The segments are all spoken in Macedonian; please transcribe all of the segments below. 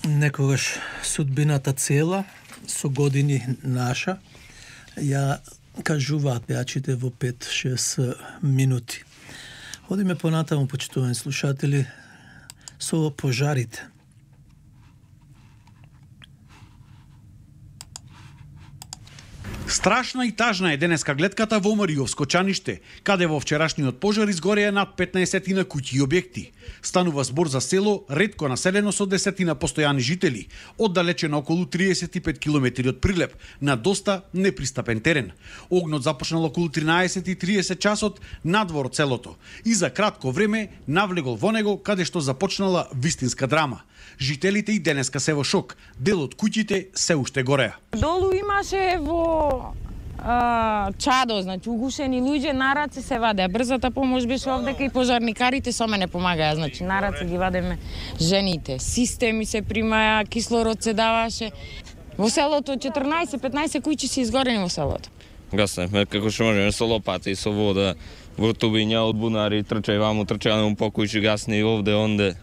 Некогаш судбината цела, со години наша, ја кажуваат пејачите во 5-6 минути. Одиме понатаму, почитувани слушатели, со пожарите. Страшна и тажна е денеска гледката во Мариовско чаниште, каде во вчерашниот пожар изгореа над 15 куќи и објекти. Станува збор за село ретко населено со 10 постојани жители, оддалечено околу 35 километри од Прилеп, на доста непристапен терен. Огнот започнал околу 13:30 часот надвор од селото и за кратко време навлегол во него, каде што започнала вистинска драма. Жителите и денеска се во шок. Дел од куќите се уште гореа. Долу имаше во чадо, значи угушени луѓе, на раце се вадеа. Брзата помош беше овдека и пожарникарите со мене помагаја, значи на раце ги вадеме жените. Системи се примаја, кислород се даваше. Во селото 14-15 куќи се изгорени во селото. Гасневме како што можеме со лопата и со вода, во тубиња од бунари, трчај ваму, трчај на по куќи, гасни овде, онде.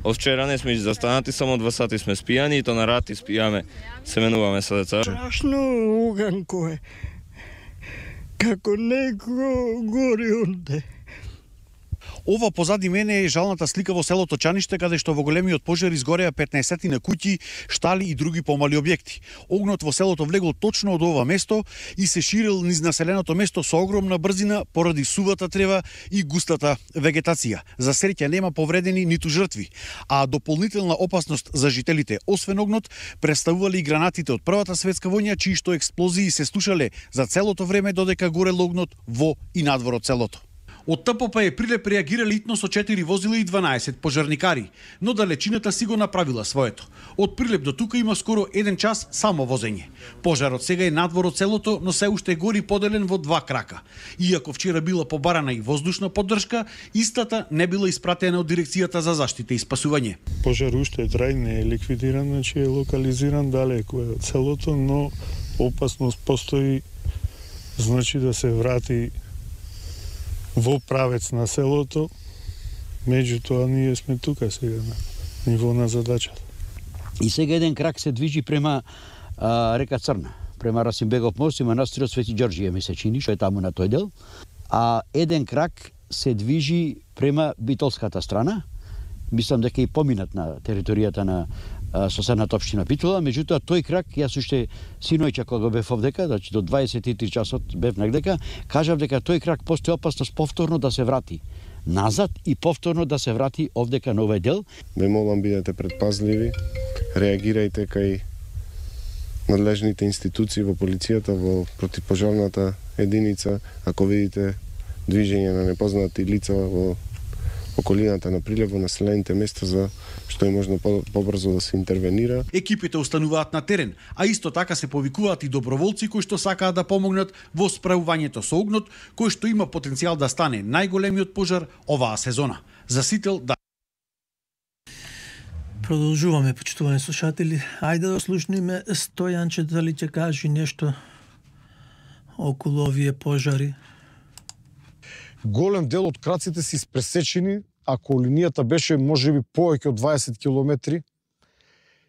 Од вчера не сме застанати, само 2 сати сме спијани и то на рати спијаме, се менуваме со деца. Страшно уганко е. Како некој гори онде. Ова позади мене е жалната слика во селото Чаниште, каде што во големиот пожар изгореа 15 куќи, штали и други помали објекти. Огнот во селото влегол точно од ова место и се ширил низ населеното место со огромна брзина поради сувата трева и густата вегетација. За среќа нема повредени ниту жртви, а дополнителна опасност за жителите, освен огнот, представувале и гранатите од Првата светска војна, чии што експлозии се слушале за целото време додека горел огнот во и надвор од селото. Од ТПП Прилеп реагирали итно со 4 возила и 12 пожарникари, но далечината си го направила своето. Од Прилеп до тука има скоро 1 час само возење. Пожарот сега е надвор од селото, но се уште гори поделен во 2 крака. Иако вчера била побарана и воздушна поддршка, истата не била испратена од Дирекцијата за заштита и спасување. Пожар уште трајно е ликвидиран, значи е локализиран далеко од селото, но опасност постои, значи да се врати во правец на селото. Меѓутоа ние сме тука сега на ниво на задачата. И сега еден крак се движи према река Црна, према Расимбегов мост и манастирот Свети Ѓорѓие, ми се чини, што е таму на тој дел. А еден крак се движи према битолската страна. Мислам дека и поминат на територијата на соседната општина Битола, меѓутоа тој крак, јас уште синојче кога бев овдека, значи до 23 часот бев негдека, кажав дека тој крак постои опасност повторно да се врати назад и повторно да се врати овдека на овој дел. Ве молам, бидете предпазливи, реагирајте кај надлежните институции во полицијата, во противпожарната единица, ако видите движење на непознати лица во околината на Прилеп, во населените места, за што е можно побрзо да се интервенира. Екипите остануваат на терен, а исто така се повикуваат и доброволци кои што сакаат да помогнат во справувањето со огнот, кој што има потенцијал да стане најголемиот пожар оваа сезона. За Сител да. Продолжуваме, почитувани слушатели. Ајде да слушниме Стојанче, дали ќе кажи нешто околу овие пожари. Голем дел од краците се испресечени, ако линијата беше можеби повеќе од 20 километри.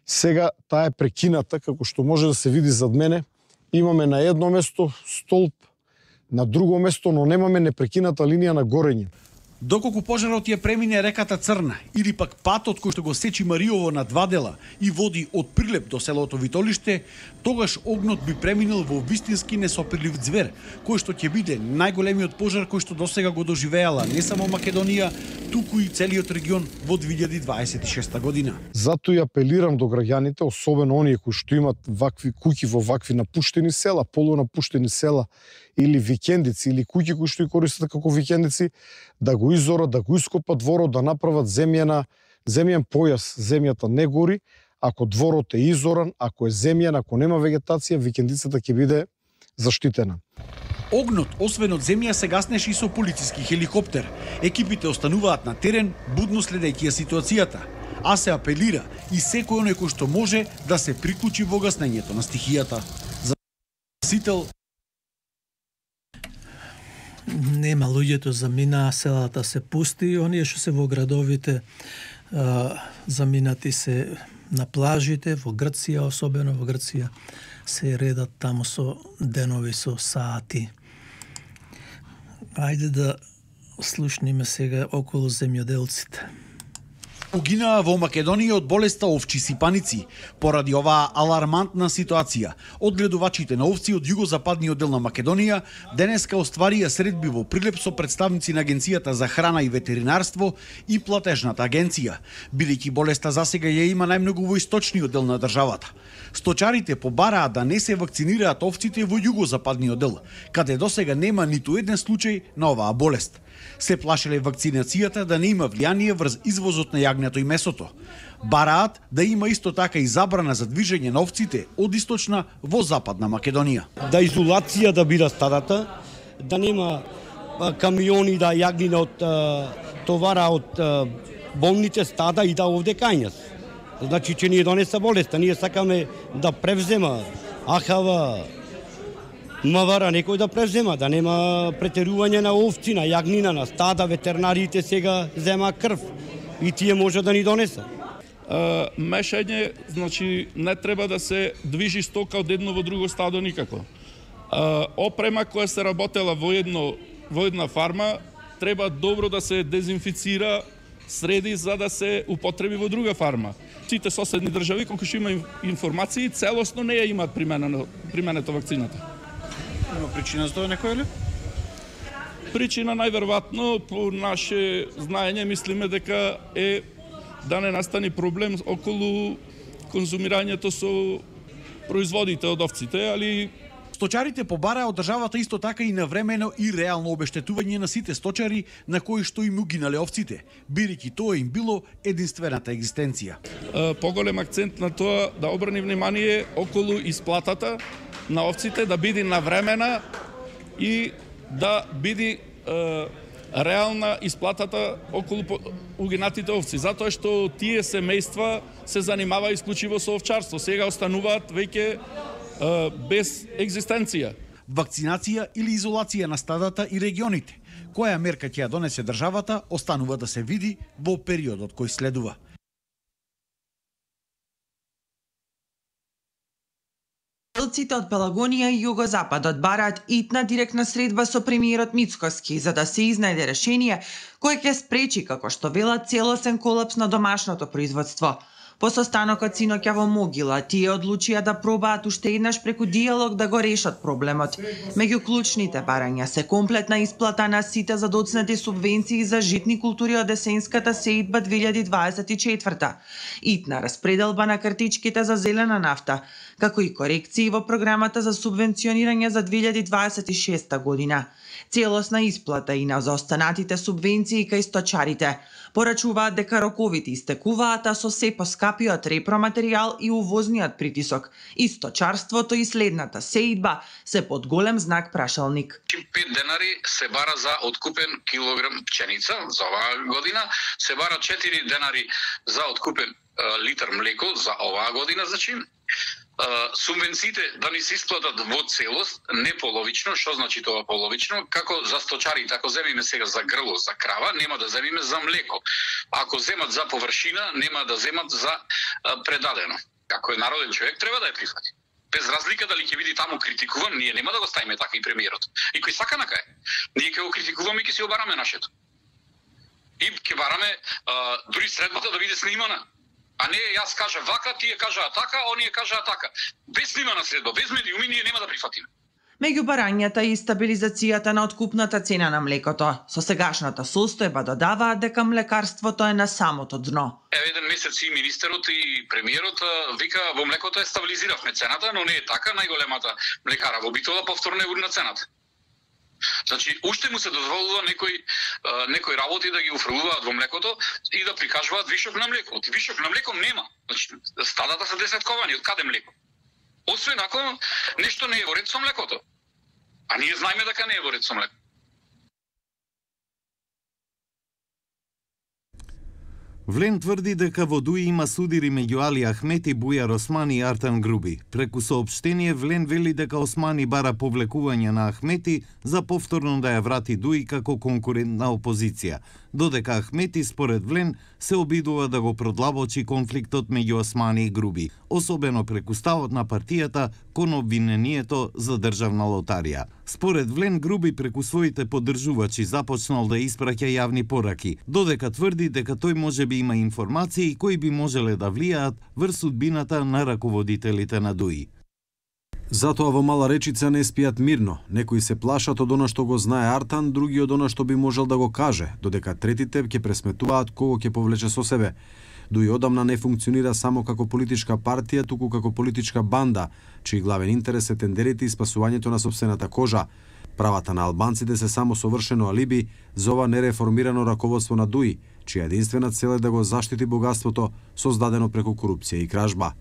Сега таа е прекината, како што може да се види зад мене. Имаме на едно место столб, на друго место, но немаме непрекината линија на горење. Доколку пожарот ја премине реката Црна или пак патот кој што го сечи Мариово на 2 дела и води од Прилеп до селото Витолиште, тогаш огнот би преминал во вистински несопирлив ѕвер, кој што ќе биде најголемиот пожар кој што досега го доживеала не само Македонија, туку и целиот регион во 2026 година. Затоа и апелирам до граѓаните, особено оние кои што имат вакви куќи во вакви напуштени села, полунапуштени села или викендици, или куќи кои што и користат како викендици, да го изорат, да го ископат дворот, да направат земјен појас. Земјата не гори, ако дворот е изоран, ако е земјен, ако нема вегетација, викендицата ќе биде заштитена. Огнот, освен од земја, се гаснеше и со полициски хеликоптер. Екипите остануваат на терен, будно следејќи ја ситуацијата, а се апелира и секој оној кој што може да се приклучи во гаснењето на стихијата. За Сител нема луѓето, заминаа, селата се пусти, оние што се во градовите заминати се на плажите, во Грција, особено во Грција, се редат таму со денови, со сати. Ајде да слушниме сега околу земјоделците. Погинаа во Македонија од болеста овчи сипаници. Поради оваа алармантна ситуација, одгледувачите на овци од југозападниот дел на Македонија денеска остварија средби во Прилеп со представници на Агенцијата за храна и ветеринарство и платежната агенција, бидејќи болеста засега ја има најмногу во источниот дел на државата. Сточарите побараат да не се вакцинираат овците во југозападниот дел, каде досега нема ниту еден случај на оваа болест. Се плашеле вакцинацијата да не има влијание врз извозот на јагнето и месото. Бараат да има исто така и забрана за движење на овците од источна во западна Македонија. Да изолација да биде стадата, да нема камиони да јагнина од товара од болните стада и да овде кај нас. Значи че ние донеса болеста, ние сакаме да превзема АХВ, МВР некој да превзема, да нема претерување на овци, на јагнина, на стада, ветеринарите сега зема крв и тие може да ни донесат. Мешање, значи не треба да се движи стока од едно во друго стадо никако. Опрема која се работела во една фарма треба добро да се дезинфицира, среди за да се употреби во друга фарма. Сите соседни држави колку што има информации целосно не ја имаат применето вакцината. Има причина за тоа некоја ли? Причина најверојатно по наше знаење мислиме дека е да не настани проблем околу конзумирањето со производите од овците, али сточарите побараа од државата исто така и навремено и реално обештетување на сите сточари на кои што им угинале овците, бидејќи тоа им било единствената екзистенција. Поголем акцент на тоа да обрани внимание околу исплатата на овците, да биде навремена и да биде реална исплатата околу угинатите овци, затоа што тие семејства се занимава исклучиво со овчарство, сега остануваат веќе без екзистенција. Вакцинација или изолација на стадата и регионите. Која мерка ќе ја донесе државата, останува да се види во периодот кој следува. Земјоделците од Пелагонија и Југозападот бараат итна директна средба со премиерот Мицкоски за да се изнајде решение кое ќе спречи, како што велат, целосен колапс на домашното производство. По состанокот синоќа во Могила, тие одлучија да пробаат уште еднаш преку диалог да го решат проблемот. Меѓу клучните барања се комплетна исплата на сите задоцнати субвенции за житни култури од есенската сеидба 2024, итна распределба на картичките за зелена нафта, како и корекции во програмата за субвенционирање за 2026 година. Целосна исплата и на заостанатите субвенции кај сточарите. Порачуваат дека роковите истекуваат, а со се поскапиот репроматеријал и увозниот притисок. И сточарството и следната сеидба се под голем знак прашалник. 5 денари се бара за откупен килограм пченица за оваа година, се бара 4 денари за откупен литар млеко за оваа година, значи субвенциите да ни се исплатат во целост, не половично. Што значи тоа половично? Како за сточарите, ако земиме сега за грло, за крава, нема да земиме за млеко. Ако земат за површина, нема да земат за предадено. Ако е народен човек, треба да ја прифати. Без разлика дали ќе биде таму критикуван, ние нема да го ставиме така и премиерот. И кој сака накај, ние ќе го критикуваме и ќе си обараме нашето. И ќе бараме дури средбата да биде снимана. А не јас кажа вака, тие кажаа така, оние кажаа така. Без снимана средба, без медиуми, ние нема да прифатиме. Меѓу барањата и стабилизацијата на откупната цена на млекото, со сегашната состојба додаваат дека млекарството е на самото дно. Еден месец и министерот и премиерот вика во млекото е стабилизиравме цената, но не е така, најголемата млекара во Битола повторно е урна цената. Значи, уште му се дозволува некои работи да ги уфрлуваат во млекото и да прикажуваат вишок на млеко. Вишок на млеко нема. Значи, стадата се десетковани, од каде млеко? Освен ако нешто не е во ред со млекото. А ние знаеме дека не е во ред со млеко. Влен тврди дека во Дуи има судири меѓу Али Ахмети, Бујар Османи и Артан Груби. Преку соопштение, Влен вели дека Османи бара повлекување на Ахмети за повторно да ја врати Дуи како конкурентна опозиција. додека Ахмети според Влен се обидува да го продлабочи конфликтот меѓу Османи и Груби, особено преку ставот на партијата кон обвинението за државна лотарија. Според Влен, Груби преку своите поддржувачи започнал да испраќа јавни пораки, додека тврди дека тој можеби има информации кои би можеле да влијаат врз судбината на раководителите на ДУИ. Затоа во Мала Речица не спијат мирно. Некои се плашат од она што го знае Артан, други од она што би можел да го каже, додека третите ќе пресметуваат кого ќе повлече со себе. ДУИ одамна не функционира само како политичка партија, туку како политичка банда, чиј главен интерес е тендерите и спасувањето на сопствената кожа. Правата на албанците се само совршено алиби за ова нереформирано раководство на ДУИ, чија единствена цел е да го заштити богатството создадено преку корупција и кражба.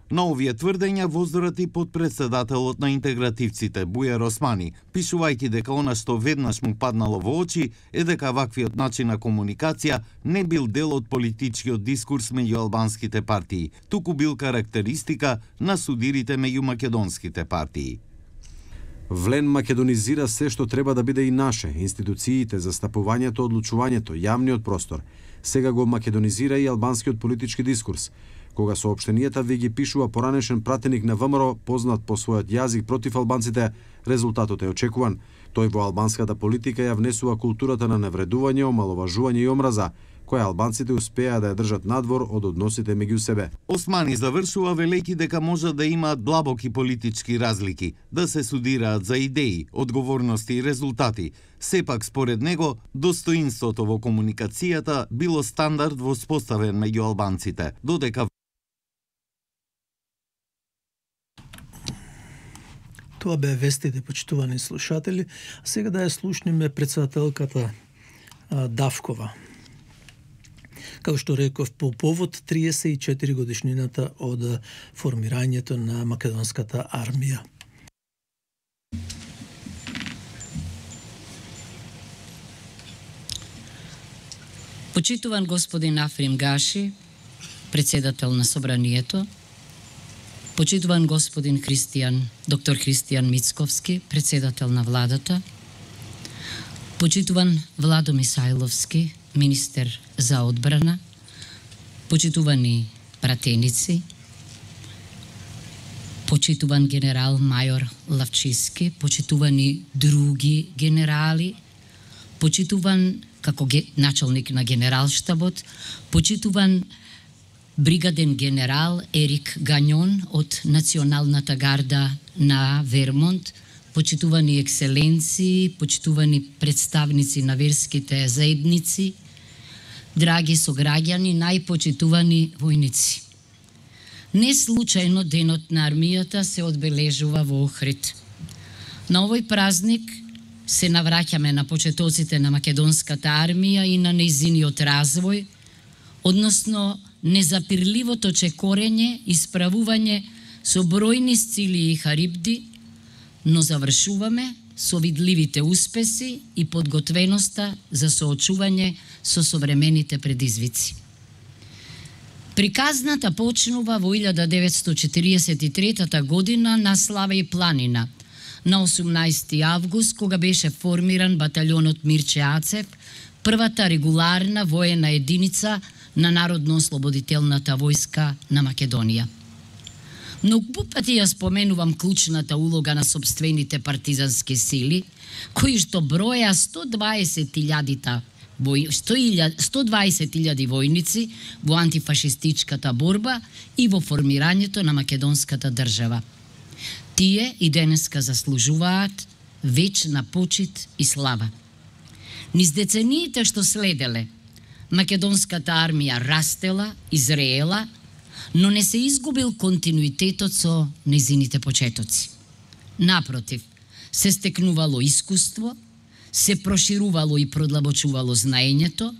На овие тврдења воздорати подпредседателот на интегративците Бујар Османи, пишувајќи дека она што веднаш му паднало во очи е дека ваквиот начин на комуникација не бил дел од политичкиот дискурс меѓу албанските партии, туку бил карактеристика на судирите меѓу македонските партии. Влен македонизира се што треба да биде и наше, институциите, застапувањето, одлучувањето, јавниот простор. Сега го македонизира и албанскиот политички дискурс. Кога соопштенијата ви ги пишува поранешен пратеник на ВМРО, познат по својот јазик против албанците, резултатот е очекуван. Тој во албанската политика ја внесува културата на невредување, омаловажување и омраза, која албанците успеа да ја држат надвор од односите меѓу себе. Османи завршува велејќи дека може да имаат длабоки политички разлики, да се судираат за идеи, одговорности и резултати. Сепак, според него, достоинството во комуникацијата било стандард воспоставен меѓу албанците, додека Тоа беа вестите, почитувани слушатели. А сега да ја слушнеме председателката Давкова. Како што реков, по повод 34 годишнината од формирањето на македонската армија. Почитуван господин Африм Гаши, председател на Собранието, почитуван господин доктор Христијан Мицковски, председател на владата, почитуван Владо Мисајловски, министер за одбрана, почитувани пратеници, почитуван генерал мајор Лавчиски, почитувани други генерали, почитуван како началник на генералштабот, почитуван бригаден генерал Ерик Гањон од Националната гарда на Вермонт, почитувани екселенции, почитувани представници на верските заедници, драги сограѓани, најпочитувани војници. Не случајно денот на армијата се одбележува во Охрид. На овој празник се навраќаме на почетоците на македонската армија и на нејзиниот развој, односно незапирливото чекорење и справување со бројни сцили и харибди, но завршуваме со видливите успеси и подготвеноста за соочување со современите предизвици. Приказната почнува во 1943 година на Славеј планина, на 18 август, кога беше формиран баталјонот Мирче Ацев, првата регуларна воена единица на Народно-ослободителната војска на Македонија. Многу пати ја споменувам клучната улога на сопствените партизански сили, кои што броја 120.000 војници во антифашистичката борба и во формирањето на македонската држава. Тие и денеска заслужуваат вечна почит и слава. Низ децениите што следеле, македонската армија растела, изреела, но не се изгубил континуитетот со незините почетоци. Напротив, се стекнувало искуство, се проширувало и продлабочувало знаењето,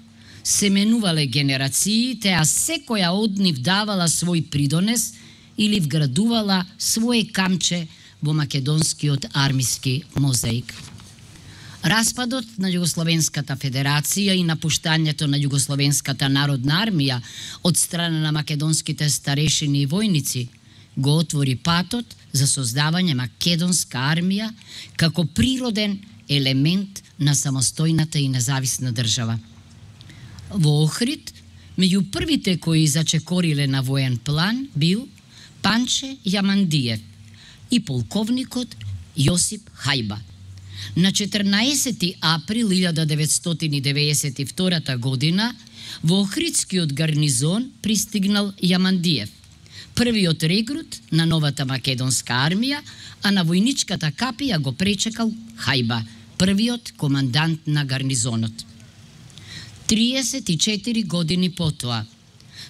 се менувале генерациите, а секоја од нив давала свој придонес или вградувала своje камче во македонскиот армиски мозаик. Распадот на Југословенската федерација и напуштањето на Југословенската народна армија од страна на македонските старешини и војници го отвори патот за создавање македонска армија како природен елемент на самостојната и независна држава. Во Охрид, меѓу првите кои зачекориле на воен план бил Панче Јамандиев и полковникот Јосип Хајба. На 14 април 1992 година во Охридскиот гарнизон пристигнал Јамандиев, првиот регрут на новата македонска армија, а на војничката капија го пречекал Хајба, првиот командант на гарнизонот. 34 години потоа,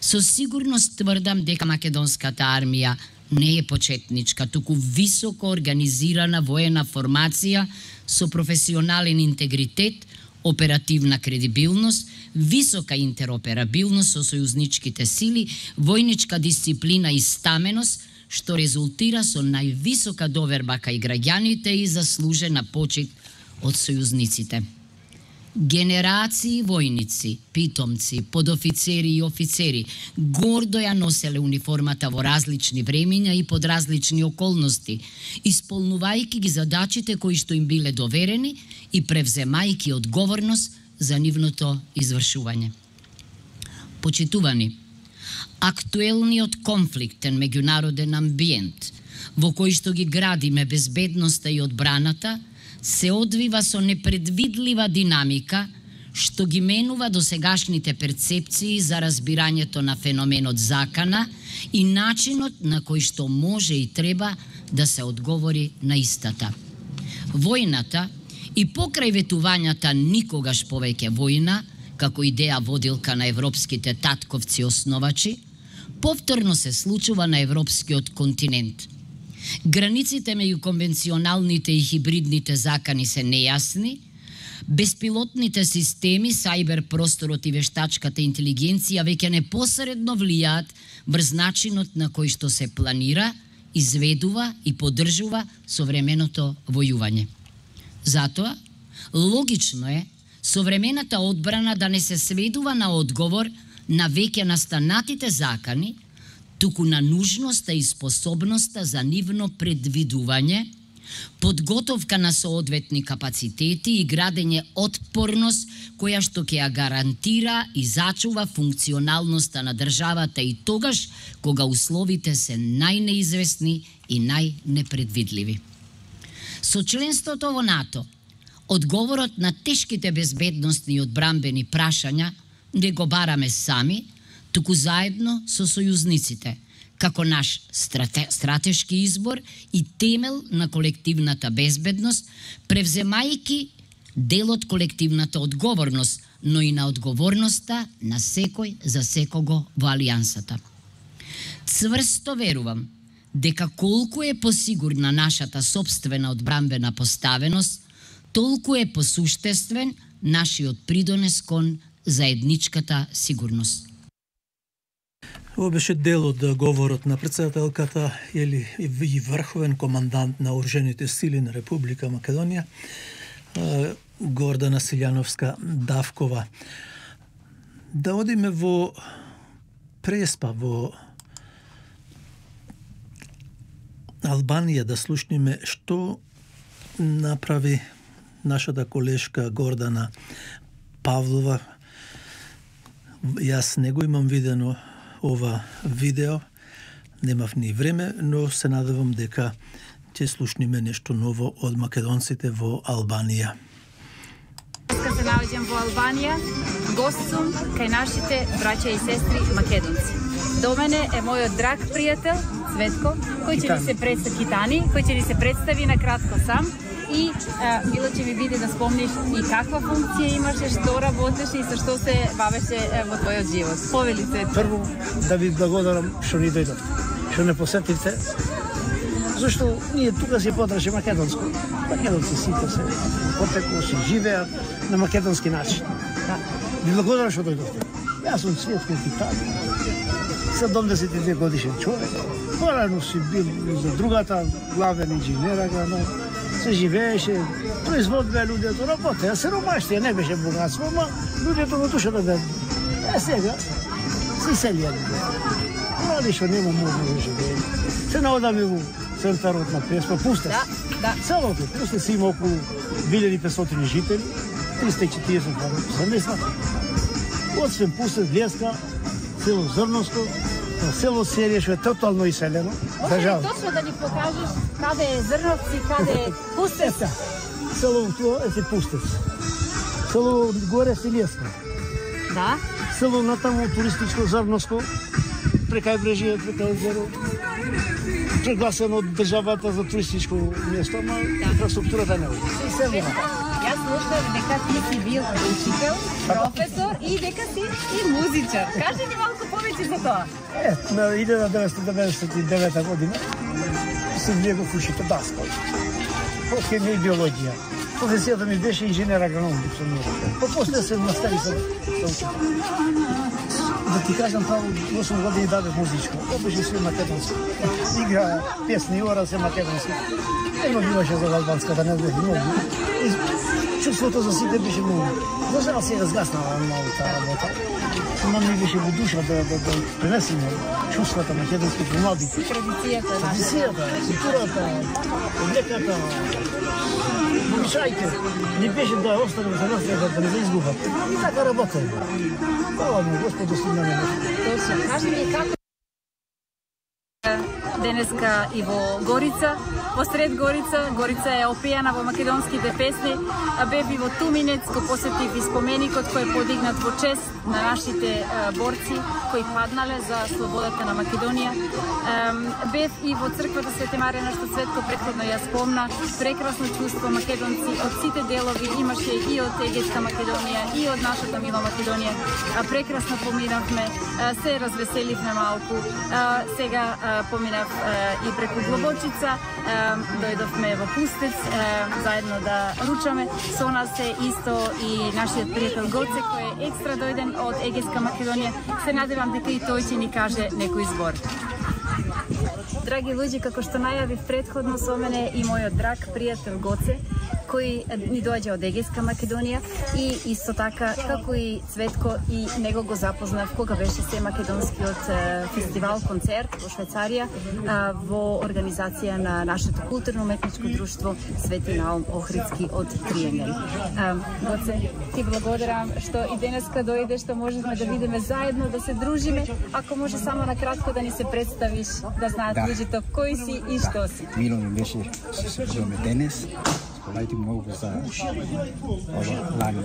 со сигурност тврдам дека македонската армија не е почетничка, туку високо организирана воена формација со професионален интегритет, оперативна кредибилност, висока интероперабилност со сојузничките сили, војничка дисциплина и стаменост, што резултира со највисока доверба кај граѓаните и заслужена почит од сојузниците. Генерации војници, питомци, подофицери и офицери гордо ја носеле униформата во различни времења и под различни околности, исполнувајќи ги задачите кои што им биле доверени и превземајќи одговорност за нивното извршување. Почитувани, актуелниот конфликтен меѓународен амбиент во кој што ги градиме безбедноста и одбраната се одвива со непредвидлива динамика што ги менува досегашните перцепции за разбирањето на феноменот закана и начинот на кој што може и треба да се одговори на истата. Војната и покрај ветувањата никогаш повеќе војна, како идеја водилка на европските татковци основачи, повторно се случува на европскиот континент. Границите меѓу конвенционалните и хибридните закани се нејасни, беспилотните системи, сајбер просторот и вештачката интелигенција веќе непосредно влијаат врз начинот на кој што се планира, изведува и поддржува современото војување. Затоа, логично е современата одбрана да не се сведува на одговор на веќе настанатите закани, туку на нужноста и способноста за нивно предвидување, подготовка на соодветни капацитети и градење отпорност која што ќе ја гарантира и зачува функционалноста на државата и тогаш кога условите се најнеизвестни и најнепредвидливи. Со членството во НАТО, одговорот на тешките безбедносни и одбранбени прашања не го бараме сами, туку заедно со сојузниците, како наш стратешки избор и темел на колективната безбедност, превземајќи дел од колективната одговорност, но и на одговорноста на секој за секого во алијансата. Цврсто верувам дека колку е посигурна нашата сопствена одбранбена поставеност, толку е посуштествен нашиот придонес кон заедничката сигурност. Ова беше дел од говорот на претседателката или и врховен командант на оружените сили на Република Македонија, Гордана Силјановска-Давкова. Да одиме во Преспа, во Албанија, да слушниме што направи нашата колешка Гордана Павлова. Јас не го имам видено ова видео, немав ни време, но се надевам дека ќе слушниме нешто ново од македонците во Албанија. Деска се наоѓам во Албанија, гост сум кај нашите браќа и сестри македонци. До мене е мојот драг пријател Цветко, кој ќе ни се представи Китани, кој ќе ни се представи на кратко сам. И мило ќе ми биде да спомниш и каква функција имаше, што работеше и со што се бавеше во твојот живот. Повели се. Прво да ви благодарам што ни дојдовте, што не посетивте, зашто ние тука си потраше македонско. Македонци сите се потекло, се живеат на македонски начин. Ви благодарам што дојдовте. Јас сум Цветко Китани, 72 годишен човек. Порано си бил за другата главен инженер, но се живееше, производбе луѓето, работеа, се ромаштија, не беше богатство, но луѓето го душата да... сега, се селија луѓето. Млади што нема можно да живее. Се наодаме во центарот на Преспа, пусте. Да. Селото, пусте се има околу 1500 жители, 340 семејства. Од Свен Пустец, Леска, село Зрновско, село Серие, што е тотално иселено. Може точно да ни покажеш каде е Зрновци, каде е Пустец? Село тоа е Пустец. Село горе е Леска. Да. Село натаму туристичко Зрновско, прекај брежие, прекај езеро. Прегласено од државата за туристичко место, ама инфраструктурата не е. Јас слушам дека ти си бил учител, професор и дека си и музичар. Кажи ни малку повеќе за тоа. На 1999 година се влегов ушите даскал. По хемија и биологија. Професијата ми беше инженер агроном. После се настави за учител. Да ти кажам, право 8 години дадев музичко. Обичам се македонски. Игра песни, ора се македонски. Ено биваше за албанска, да не бе многу. Чувството за сите беше многу. За жал се разгаснала малку таа работа. Но ми беше во душа да пренесеме чувствата македонски во младите. Традицијата, културата, облеката, обичаите. Не беше да останем за нас, да не се изгубат. И така работеме. Хвала му, Господу силно не може. Точно. Кажи ми како денеска и во Горица, посред Горица. Горица е опијана во македонските песни, а бев и во Туминец, го посетив и споменикот кој е подигнат во чест на нашите борци кои паднале за слободата на Македонија. Бев и во црквата Свети Марија, што Цветко претходно ја спомна. Прекрасно чувство, македонци од сите делови имаше и од Егејска Македонија и од нашата мила Македонија. Прекрасно поминавме, се развеселивме малку. Сега поминав и преку Глобочица, дојдовме во Пустец заедно да ручаме. Со нас е исто и нашиот пријател Гоце, кој е екстра дојден од Егејска Македонија. Се надевам дека и тој ќе ни каже некој збор. Драги луѓе, како што најавив претходно, со мене и мојот драг пријател Гоце, кој ни доаѓа од Егејска Македонија и исто така, како и Цветко, и него го запознав кога беше се македонскиот фестивал, концерт во Швајцарија во организација на нашето културно-уметничко друштво Свети Наум Охридски од Триенген. Гоце, ти благодарам што и денеска дојде, што можевме да видиме заедно, да се дружиме. Ако може само на кратко да ни се представиш, да знаат луѓето кој си и што си. Мило ми беше се дружиме денес. Спомајте многу за ова лани.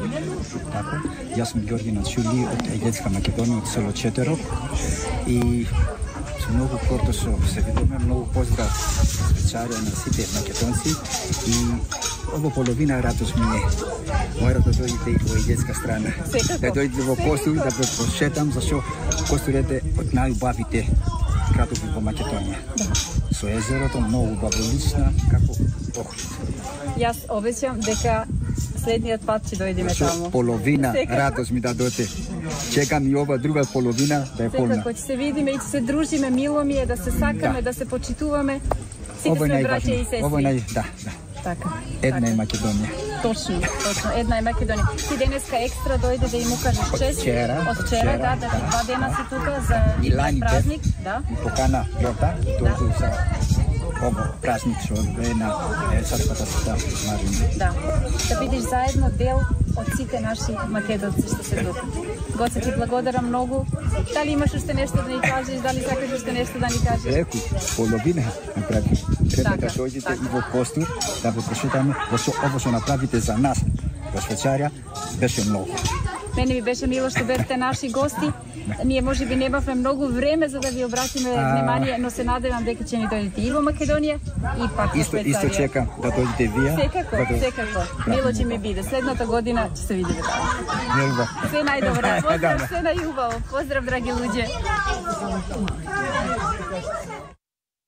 Така, јас сум Ѓорги Нацули од Егејска Македонија, од село Четерок и со многу гордо се видиме, многу поздрав Швајцарија на сите македонци и ова половина радост ми е. Мора да дојдете и во Егејска страна. Да дојдете во Костур, да ве посетам, зашто Костур е од најубавите градови во Македонија. Со езерото многу баволична, како Охрид. Јас обеќам дека следниот пат ќе дојдеме таму. Половина радост ми да дојдете. Чекам и ова друга половина да е полна. Секако ќе се видиме и ќе се дружиме, мило ми е да се сакаме, да се почитуваме. Сите сме браќа и сестри. Ова е да. Така. Една е Македонија. Точно, една е Македонија. Ти денеска екстра дојде да им укажеш чест. Од вчера, да, 2 дена си тука за празник, да. Покана Јордан, дојде за ово празник што е на црквата Света Марија. Да. Да бидеш заедно дел од сите наши македонци што се тука. Гоце, ти благодарам многу. Дали имаш уште нешто да ни кажеш, дали сакаш уште нешто да ни кажеш? Реку, половина направи. Треба да дојдете и во Костур, да ве посетаме, ово што направите за нас во Швајцарија беше многу. Мене ми беше мило што бевте наши гости. Ние можеби немавме многу време за да ви обратиме внимание, но се надевам дека ќе ни дојдете и во Македонија и пак во Швајцарија. Исто чекам да дојдете вие. Секако. Мило ќе ми биде. Следната година ќе се видиме таму. Љубов. Се најдобро. Поздрав, се најубаво. Поздрав, драги луѓе.